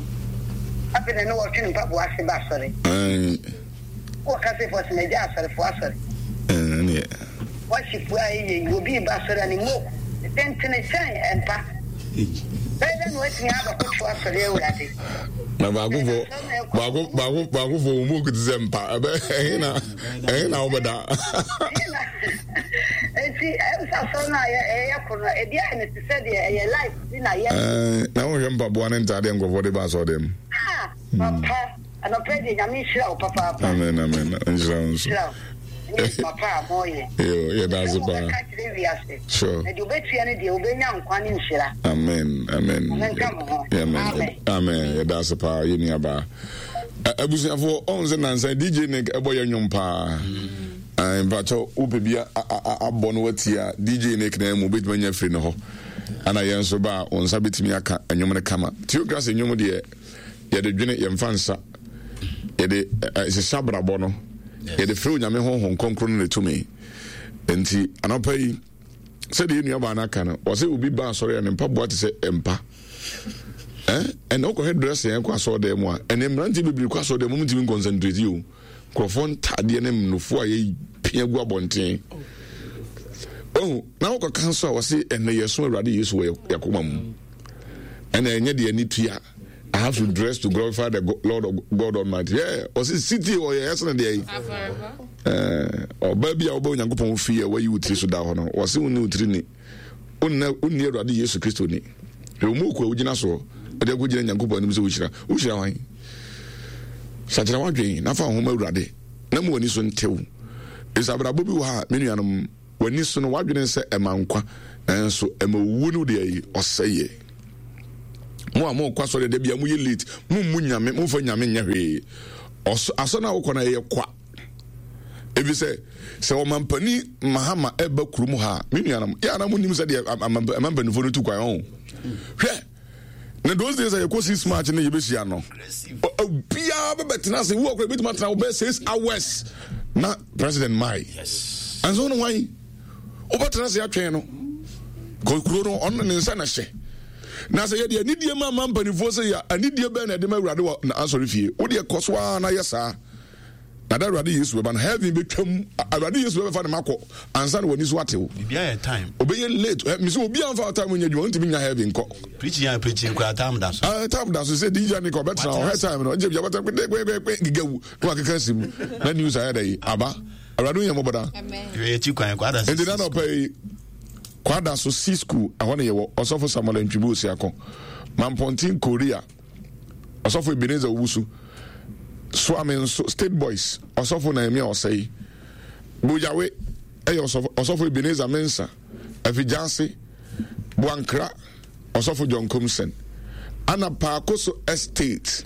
Afei na ne wɔtwe ne mpaboa ase ba asɔre. Ae. Wɔ ka sɛ fɔs na gya asɔrefo asɔre. Ɛneɛ. Worship a ɛyɛ yi, obi reba asɔre a ne mo tentene kyɛn mpa. Bɛyɛ dɛ na watumi abɛkoto asɔre Awurade. Na baako fo baako baako baako fo wɔn mu te sɛ mpa ɛbɛ ɛhe na ɛhe na wɔbɛda. Eti ɛm sɛ asɔre no a ɛyɛ koro no ebi ayɛ no te sɛ deɛ ɛyɛ life bi na yɛ. Ɛɛ na wɔhwɛ mpaboa ne ntaadeɛ nkurɔfoɔ de ba asɔre dɛm. Ah papa. Anɔpa yi deɛ Nyame nhyira wo papaapa. Amen amen nhyira wo nso. Nhyira wo ne adwuma pa a moyɛ. Yo yɛda ase paa. Wɔbɛka kyerɛ wiase. Sure. Na deɛ obetua no deɛ obenya nkwa ne nhyira. Amen amen. Nyame nka mo ho. Amen amen yɛda ase paa yɛ nua baa. Abusuafoɔ ɔn sɛ nansa DJ Nick ɛbɔ yɛ nnwom paa. Mpakyɛw wopɛ bi abɔ no watie a DJ Nick na mu wobɛtumi anya firi ne hɔ. Ana yɛn nso ba a wo nsa bɛtumi aka nnwom no kama. Theocracy nnwom deɛ yɛde dwene yɛmfa nsa yɛde hyehyɛ abrabɔ no yɛde frɛ onyame honhom kronkron no ne tumi nti anɔpa yi sɛdeɛ yɛn nuabaa no aka no wɔsɛ obi ba asɔre a ne mpaboa te sɛ mpa ɛnna wokɔhwɛ dress yɛn kɔ asɔre dan mu a ɛnna mmeranteɛ bebree kɔ asɔre dan mu ntumi nkɔnsantreti o nkurɔfoɔ ntaadeɛ ne mnofoɔ a yɛpia gu abɔnten ɔhu na wokɔka nso a wɔse ɛnna yɛso awurade yesu wɔ yɛkoma mu ɛnna ɛnyɛ deɛ ani tua I have to dress to glorify the Lord of God Almighty. Yeah, ɔsi sitie ɔyɛ ɛsɛn deɛ yi. Ɔbaa bi a ɔbɛ Onyankopɔn fi a wayi wo tiri so da hɔ no, wɔsi wo ne wo tiri ni. Wonna wonni Awurade Yesu Kristo ni. Hwɛ wo moku a wogyina soɔ de akɔgyina Nyankopɔn anim sɛ wohyira. Wohyira hwan? Sakyera w'adwen na fa wo ho ma Awurade na ma w'ani so ntew. Ɛsɛ abrabɔ bi wɔ ha a, me nuanom, w'ani so no w'adwene sɛ ɛma nkwa, nanso ɛma owuo no deɛ yi ɔsɛeɛ. Mo a mokɔ asɔre da bia moyɛ late, mommu Nyame, momfa Nyame nyɛ hwee. Asɔ no a wokɔ no ɛyɛ kwa. Efisɛ sɛ ɔmampanin Mahama ɛba kurom ha a, me nuanom, yɛ ana monim sɛdeɛ amampanimfoɔ no tu kwan ɔho. Hwɛ, na those days a yɛkɔ six March no yɛbɛhyia no, obiara bɛbɛtena ase, wo akora bɛtumi atena wo bɛyɛ 6 hours na president mae. Ɛnso no hwan? Wobɛtena ase atwɛn no. Kuro no, ɔno ne nsa na hyɛ. Na sɛ yɛde anidie ma ama mpanimfoɔ sɛ yɛ anidie bɛn na ɛde ma Awurade wɔ n'asɔre fie. Wodeɛ kɔ so ara na yɛ saa. Na da Awurade Yesu bɛba no, heaven bɛtwam. Awurade Yesu bɛbɛfa ne ma kɔ ansa na w'ani so atew. Biribiara yɛ time. Obɛyɛ late. Mesi obi amfa time nyɛ adwuma, ntumi nya heaven nkɔ. Preaching a preaching kura time da so. Ah, time da so sɛ DJ ne ka ɔbɛtena ɔhwɛ time no. Nkyɛ bɛtena kpe kpe kpe kpe giga wu na wakeka si mu. Na news ayɛ dɛ yi aba. Awurade yɛ mmɔbɔ da. Yɛ akyi kwan kwada so. Nti na nɔpɛ yi kwada so si school ɛhɔ ne yɛwɔ ɔsɔfo Samuel Ntwibu Osiako. Mampɔnten Korea. Ɔsɔfo Ebenezer Owusu, Suame nso State Boys, Ɔsɔfo Nehemia Ɔsɛe, Boyawe ɛyɛ ɔsɔfo Ɔsɔfo Ebenezer Mensah, Afigyase, Boankra, Ɔsɔfo John Komsen, ana Paakoso Estate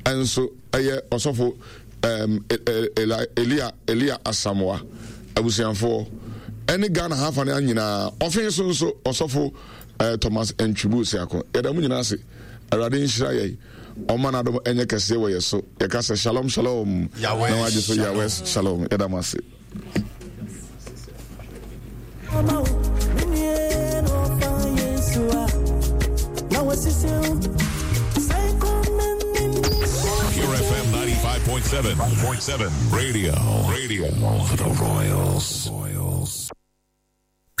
nso ɛyɛ Ɔsɔfo um, Elia Elia Asamoah abusuafoɔ ɛne Ghana ha afa no nyinaa ɔfe so nso Ɔsɔfo uh, Thomas Ntwibu Osiako. Yɛda mu nyinaa ase. Awurade nhyira yɛn, ɔmma n'adom nyɛ kɛseɛ wɔ yɛ so. Yɛka sɛ shalom shalom, na wagye so Yahweh shalom. Yɛda mo ase. Pure FM 95.7 .7 Radio Radio for the Royals. Royals.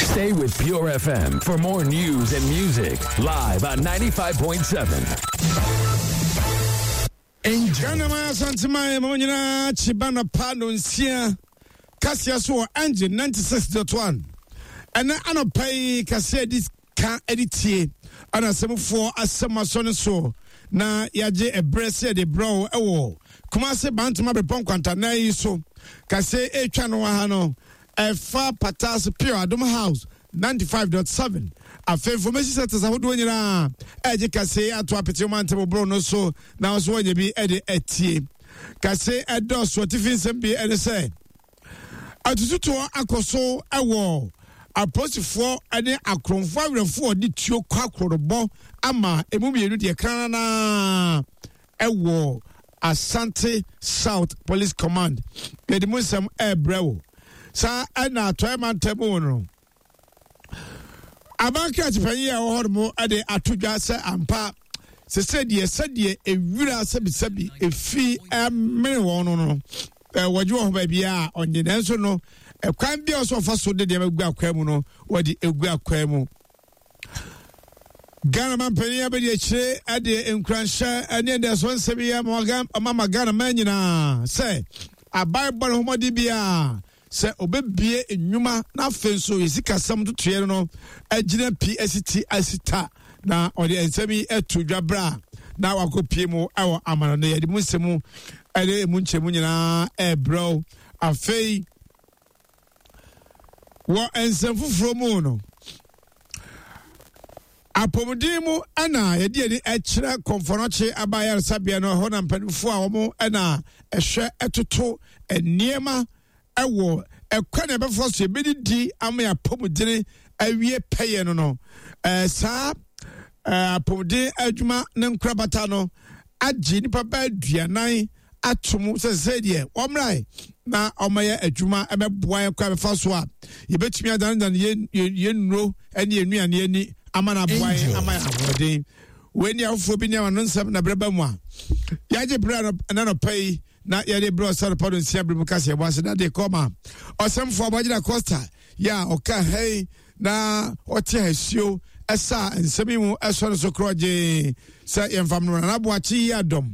Stay with Pure FM for more news and music live on 95.7. Ghana man Asanteman ma nyinaa kye ba nɔpa nonsia kaseɛ so wɔ Engine 96.1 ɛnɛ anɔpa yi kaseɛ di ka de tie ɛna asɛmfoɔ asɛm asɔ ne so na yɛagye ɛberɛ sɛ yɛde brɛ wo ɛwɔ Kumase Bantama Bepɔ Nkwantanan yi so kaseɛ ɛretwa no aha no Ɛfa Patase Pure Adom House 95.7. Afei information centers ahodoɔ nyinaa ɛregye kaseɛ ato apete ɔmantam boro no so na nso wɔnyɛ bi de atie. Kaseɛ ɛdɔɔso atifi nsɛm bi ɛne sɛ atututoɔ akɔ so ɛwɔ apolisifoɔ ne akorɔmfoɔ awerɛfoɔ de tuo kɔ akorɔbɔ ama emu mmienu deɛ krananaa ɛwɔ Asante South Police Command. Yɛde mu nsɛm ɛrebrɛ wo. Saa ɛna atɔeɛ mantam mu no. Aban krakye panyin a ɛwɔ hɔ nom de ato dwa sɛ ampa sese deɛ sɛdeɛ ewira sɛbisɛbi efi ɛmene wɔn no no wɔgye wɔn ho baabi a ɔnye nanso no ɛkwan bi a ɔsɛ ɔfa so de nneɛma gu akwan mu no wɔde egu akwan mu. Ghana mampanyin abɛdi akyire de nkuranhyɛ ne anidasoɔ nsɛm yi ama ma Ghana man nyinaa sɛ aban bɔ ne ho mmɔden biara sɛ ɔbɛbie nnwuma na afei nso yɛ sikasɛm ntotoeɛ no agyina pi asiti asita na ɔde nsɛm yi ato dwa berɛ a na wakɔpie mu wɔ amanɔne. Yɛde mu nsɛm ne emu nkyɛmu nyinaa ɛrebrɛw afei. Wɔ nsɛm foforɔ mu no, apɔmuden mu na yɛde ani kyerɛ kɔmfɔnɔkye aba ayaresabea no ɛhɔ na mpanimfoɔ a wɔn na ɛhwɛ ɛtoto nneɛma ɛwɔ ɛkwan na ɛbɛfa so yɛbɛdidi ama yɛ apɔmuden awie pɛyɛ no no ɛɛ saa ɛɛ apɔmuden adwuma ne nkorabata no agye nipa bɛɛ aduanan ato mu sɛ sɛ deɛ wɔmmrae na wɔmmɛyɛ adwuma ɛbɛboa yɛn kwan bɛfa so a yɛbɛtumi adanedane yɛn yɛn nnuro ne yɛn nnuane ani ama no aboa yɛn ama yɛn ahoɔden. Wei ne afoforɔ bi ne ama no nsɛm na berɛ ba mu a yɛagye berɛ na nɔpa yi na yɛde berɛ ɔsɛ nɔpa no nsia berɛ mu ka sɛ yɛbɔ ase na de kɔma ɔsɛmfoɔ abɔgyina Costa yɛ a ɔka hɛn na ɔte asuo ɛsa nsɛm yi mu ɛsɔ no so korɔgyee sɛ yɛmfa no nana boakye yi adɔm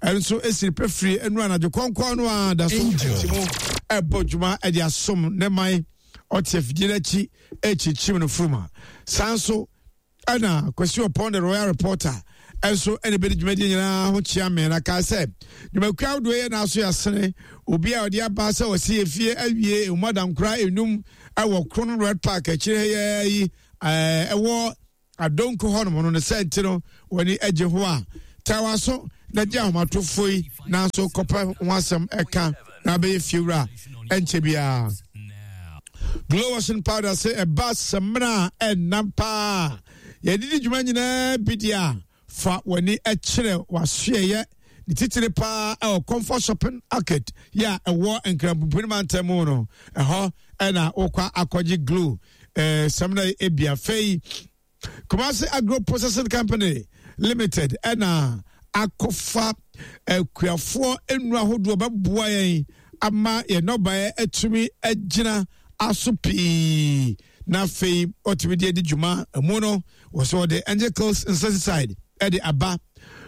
ɛnso ɛsiri pɛfiri ɛnu anadwo kɔnkɔn no a da so ɛti mu ɛbɔ dwuma ɛde asom ne man. Ɔte afidie no akyi rekyinkyim no furuma. Saa nso ɛna Kwasi Ɔpɔn the Royal Reporter nso ɛna ɛbɛdi dwumadie nyinaa ho kyea me na kaa sɛ dwumakuo ahodoɔ yɛ n'aso yɛasene obi a ɔde aba sɛ ɔsi efie awie emu adankora enum ɛwɔ Krono Red Park akyire ha yi ɛwɔ Adonko hɔnom no ne sɛ nti no wɔn ani gye ho a taa w'aso na gye ahomatofo yi nanso kɔpɛ ho asɛm ɛka na abɛyɛ fiewura ɛnkyɛ biara. Glow washing powder sɛ ɛba samina a ɛnam paa yɛde di dwuma nyinaa bi deɛ a fa w'ani kyerɛ w'asoɛyɛ ne titiri paa ɛwɔ Comfort Shopping Arcade yɛ a ɛwɔ Nkranpumpuni mantam mu no ɛhɔ ɛna wokɔ akɔgye glow eh, samina yi ebi afei Kumasi Agro Processing Company Limited ɛna akɔfa akuafoɔ nnuro ahodoɔ bɛboa yɛn ama yɛn nnɔbaeɛ atumi agyina aso pii na afei ɔtumi de adi dwuma mu no wɔ so ɔde angels insecticide ɛde aba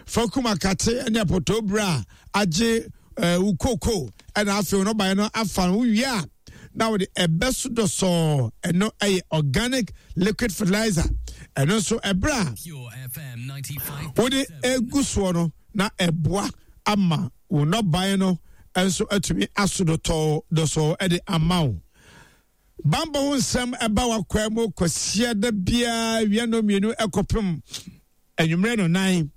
fakum akate ne apɔtɔ bere a agye ɛɛ wo koko ɛna afei nnɔbaeɛ no afa no wie a na wɔde ɛbɛ so dɔsɔɔ ɛno ɛyɛ organic liquid fertilizer ɛno nso ɛberɛ a wode egu soɔ no na ɛboa ama wo nnɔbaeɛ no nso atumi aso dɔtɔɔ dɔsɔɔ ɛde ama wo bambɔ ho nsɛm ɛba wakwan mu kwasia da biara wia no mmienu ɛkɔpem anwummerɛ no nan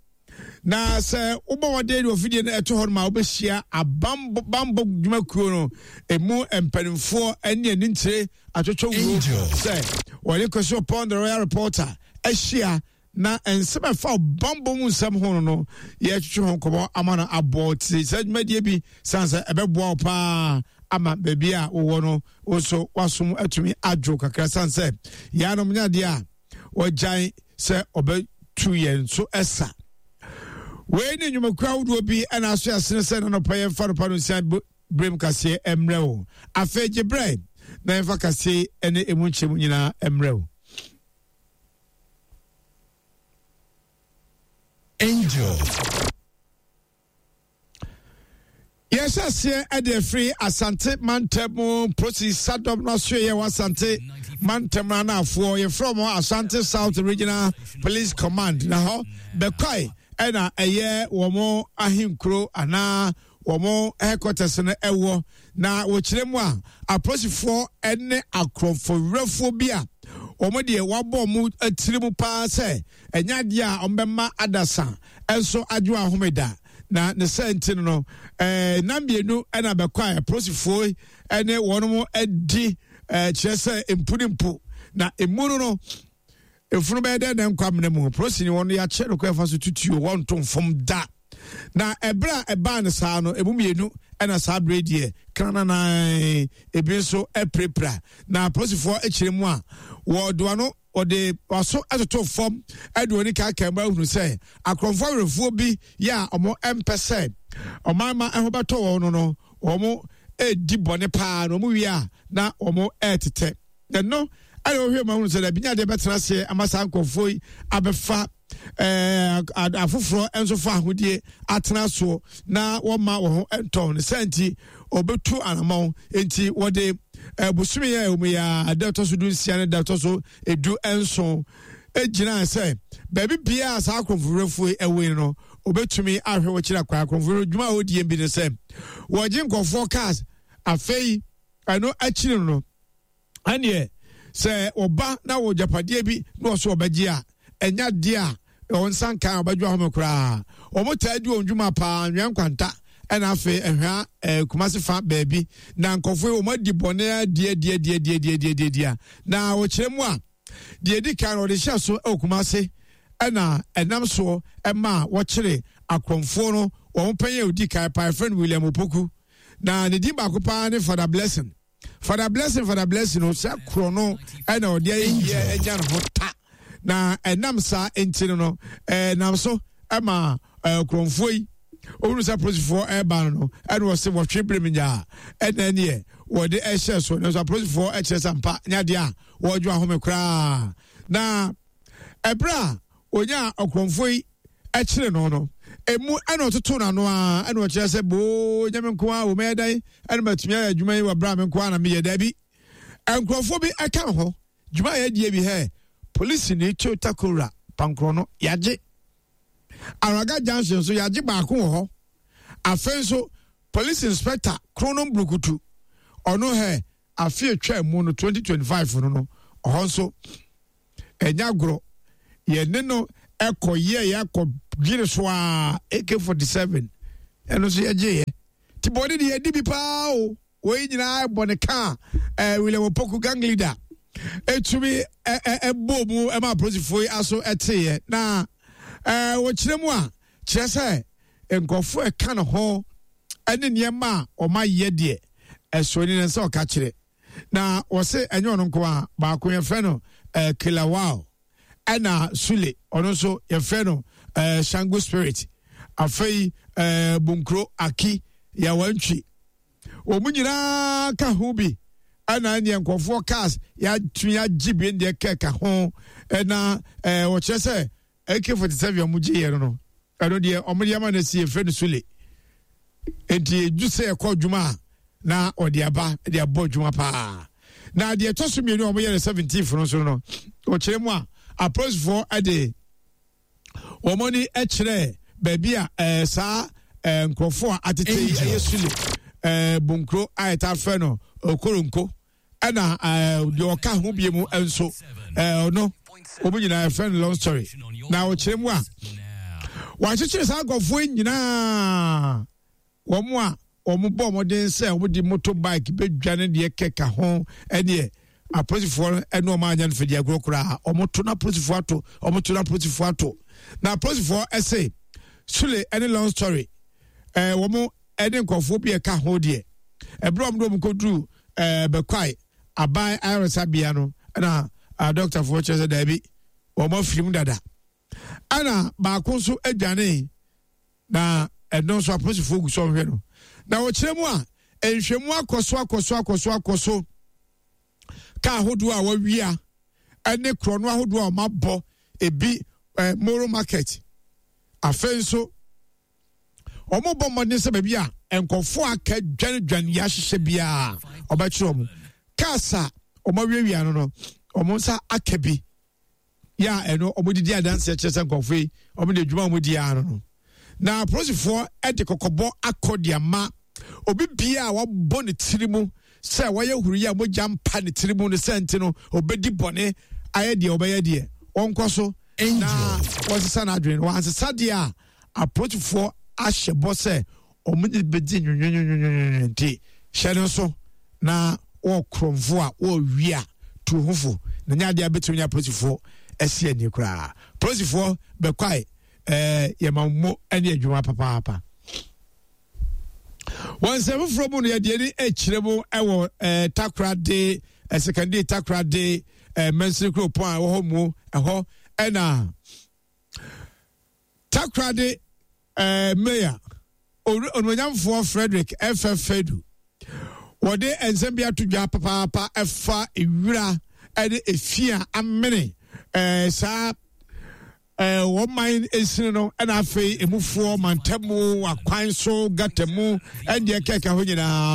na sɛ wobɔ wɔde de ofidie no ɛto hɔ no ma wobɛhyia abambɔ bambɔ dwumakuo no ɛmu mpanimfoɔ ne anintire atwotwo wuo sɛ wɔde kɔsi ɔpɔn the royal reporter ahyia na nsɛm ɛfa bambɔ mu nsɛm ho no no yɛtwetwe ho nkɔmmɔ ama no aboɔ te sɛ dwumadie bi sane sɛ ɛbɛboa wo paa ama baabi a wowɔ no wo nso wasom atumi adwo kakra sane sɛ yɛanom nyɛ adeɛ a wɔgyae sɛ ɔbɛtu yɛn so ɛsa wei ne nnwumakuo ahodoɔ bi ɛna aso asene sɛ nanɔpa yɛmfa nopa no nsia berɛm kaseɛ mmerɛ wo afei gye berɛ na yɛmfa kaseɛ ne ɛmu nkyɛmu nyinaa mmerɛ wo. Angel. Yɛhyɛ aseɛ de afiri Asante mantam mu Prosi Sadɔm no asoɛyɛ wɔ Asante mantam no anaafoɔ yɛfrɛ wɔn Asante South Regional Police Command na hɔ bɛkwae ɛna ɛyɛ wɔn ahenkuro anaa wɔn headquarters no ɛwɔ na wɔkyerɛ mu a apolisifoɔ ne akorɔmfowerɛfoɔ bi a wɔn deɛ wɔabɔ wɔn tiri mu paa sɛ ɛnyɛ adeɛ a wɔbɛma adasa nso adwo ahome da na ne sɛ nti no no ɛɛ na mmienu ɛna bɛkɔ a apolisifoɔ ɛne wɔn adi ɛɛ kyerɛ sɛ mpu ne mpu na emu no no efunu bɛyɛ dɛ na nkwa mena mu polisi ni wɔn yɛakyɛ no kɔ ɛfa so tutuo wɔn to nfam da na ɛberɛ a ɛbaa no saa no emu mmienu ɛna saa berɛ deɛ krananan ebi nso apirapira na apolisifoɔ akyerɛ mu a wɔde ano wɔde waso atoto fam ɛde wɔn kaakae mu ahunu sɛ akorɔmfoɔ awerɛfoɔ bi yɛ a wɔn mpɛ sɛ ɔman ma ɛho bɛtɔ wɔn no no wɔn redi bɔne paa na wɔn wie a na wɔn retetɛ ɛno ɛna wɔhwɛ mu ahunu sɛ dabi nya adeɛ bɛtena aseɛ ama saa nkurɔfoɔ yi abɛfa ɛɛ afoforɔ nso fa ahodie atena soɔ na wɔma wɔn ho ntɔn ne sɛ nti wɔbɛtu anamɔn nti wɔde ɛɛ bosome yɛ wɔn yɛ a da ɛtɔ so du nsia ne da ɛtɔ so edu nson egyina sɛ baabi biara saa akorɔmfowerɛfoɔ yi ɛwɔ yi no wɔbɛtumi ahwɛ wɔ kyerɛ akwan akorɔmfowerɛ dwuma a wɔdie bi ne sɛ wɔgye nkurɔfoɔ cars afei ɛno akyiri no ɛneɛ sɛ ɔba na wɔ gyapadeɛ bi na ɔso ɔbɛgye a ɛnya adeɛ a wɔn nsa nkan a ɔbɛdwo ahome koraa wɔn taa di wɔn dwuma paa nwea nkwanta ɛna afei ɛhwea ɛɛ kumase fa baabi na nkɔfo yi wɔn adi bɔne adi adi adi adi adi adi adi adi a na wɔkyerɛ mu a deɛ edi kan wɔde hyɛ so ɛwɔ kumase ɛna ɛnam soɔ ɛma wɔkyere akorɔmfoɔ no wɔn panyin a odi kan paa ɛfrɛ no William Opoku na ne din baako paa ne Father Blessing. Father Blessing Father Blessing no sɛ korɔ no ɛna ɔde ayɛ yie anya ne ho ta na ɛnam saa nti no no ɛnam so ɛma ɛɛ kurɔnfoɔ yi ohunu sɛ apolisifoɔ ɛreba no no ɛna wɔsi wɔtwe bere mu nyaa ɛna ɛneɛ wɔde ɛhyɛ so nanso apolisifoɔ ɛkyerɛ sɛ mpa nyɛ adeɛ a wɔredwo ahome koraa na ɛberɛ a onyaa ɔkorɔmfoɔ yi kyere no no, emu ɛna ɔtoto n'ano a ɛna ɔkyerɛ sɛ boo nyɛ me nko a wɔmɛyɛ dan ɛna matumi ayɛ adwuma yi wɔ berɛ a me nko a na meyɛ daabi. Nkurɔfoɔ bi ɛka ho dwuma a yɛadie bi hɛ polisi ni Toyota Corolla pankorɔ no yɛagye. Araga Junction nso yɛagye baako wɔ hɔ. Afei nso police inspector Kronom Brukutu ɔno hɛ afe atwa mu no 2025 no no ɔhɔ nso ɛnyɛ agorɔ yɛne no ɛkɔ yɛ yɛakɔ dwene so a AK47 ɛno nso yɛgyeeɛ nti bɔne deɛ yɛdi bi paa o. Wei nyinaa bɔ ne ka a eh, William Opoku gang leader ɛtumi ɛbɔ mu ɛma apolisifoɔ yi aso ɛteeɛ na ɛɛ wɔkyerɛ mu a kyerɛ sɛ nkurɔfoɔ ɛka ne ho ɛne nneɛma a wɔn ayɛ deɛ ɛso ni ne nsa ɔka kyerɛ na wɔse ɛnyɛ ɔno nko a baako yɛfrɛ no ɛɛ Kilawao ɛna Sule ɔno nso yɛfrɛ no ɛɛ Shango Spirit afei ɛɛ Bunkuro Aki Yawantwi. Wɔn nyinaa ka ho bi ɛna ɛneɛ nkurɔfoɔ cars yɛatumi agye bi deɛ kɛka ho ɛna ɛɛ wɔkyerɛ sɛ AK-47 a wɔgye yɛ no no ɛno deɛ wɔn de ama no si yɛfrɛ no sule nti edu sɛ ɛkɔ adwuma a na ɔde aba de abɔ adwuma paa na deɛ ɛtɔ so mmienu a wɔyɛ no 17 no nso no wɔkyerɛ mu a apolisifoɔ ɛde wɔn ani kyerɛɛ baabi a ɛɛ saa ɛɛ nkurɔfoɔ a atete yi ɛyɛ sule ɛɛ bunkuro a yɛta frɛ no okoronko ɛna ɛɛ deɛ ɔka ho bie mu nso ɛɛ ɔno wɔn nyinaa yɛfrɛ no long story na ɔkyerɛ mu a wɔakyekyere saa nkurɔfoɔ yi nyinaa. Wɔn a wɔbɔ mmɔden sɛ wɔde motorbike bɛdwane deɛ kɛka ho ɛneɛ apolisifoɔ no ɛne wɔn anyɛ no fɛdi agorɔ koraa. Wɔto na apolisifoɔ ato, wɔto na apolisifoɔ ato. Na apolisifoɔ ɛse Sule ɛne long story ɛɛ wɔn ɛne nkurɔfoɔ bi ɛka ho deɛ ɛberɛ wɔn de wɔn kɔduru ɛɛ Bɛkwae aban ayaresabea no ɛna adɔktafoɔ kyerɛ sɛ daabi wɔn afiri mu dada. Ɛna baako nso adwane na ɛno nso apolisifoɔ gu so ɔhwɛ no na wɔkyerɛ mu a nhwɛmu akɔ so akɔ so akɔ so akɔ so kaa ahodoɔ a wɔawia ɛne korɔno ahodoɔ a wɔabɔ ebi ɛɛ moro market afei nso wɔbɔ mmɔden sɛ baabi a nkurɔfoɔ aka dwanedwane yɛ ahyehyɛ biara wɔbɛkyerɛ wɔn cars a wɔawiawia no no wɔn nsa aka bi. yɛ a ɛno wɔde di adanseɛ kyerɛ sɛ nkurɔfoɔ yi wɔn de adwuma a wɔdi ara no no na apolisifoɔ de kɔkɔbɔ akɔ de ama obi bia a wabɔ ne tiri mu sɛ wɔyɛ huruyɛ a mogya mpa ne tiri mu no sɛ nti no obɛdi bɔne ayɛ deɛ ɔbɛyɛ deɛ wɔnkɔ so na wɔsesa n'adwene no wɔansesa deɛ a apolisifoɔ ahyɛ bɔ sɛ wɔn de bɛdi nwonwonwonwonwonwo nti hyɛ no nso na wɔ korɔmfo a wɔrewi a tu ho fo na nyɛ adeɛ a bɛtumi ne apolisifoɔ asi ani koraa polisifoɔ bɛkwae ɛɛ yɛma mo ne adwuma papaapa wɔn nsɛm foforɔ mu no yɛde ani akyerɛ mu wɔ ɛɛ takorade ɛsɛkɛnde takorade ɛɛ mɛnsini kuropɔn a ɛwɔ hɔ mu ɛhɔ ɛna Takoradi eh, Mayor, Onuonyamfoɔ Frederick F.F. Fedu, wɔde nsɛm bi ato dwa papaapa ɛfa ewira ɛne efi a amene eh, saa eh, wɔn man esini no ɛna afei emufoɔ mantamu akwan so gata mu ɛndeɛ kɛkɛ ho nyinaa.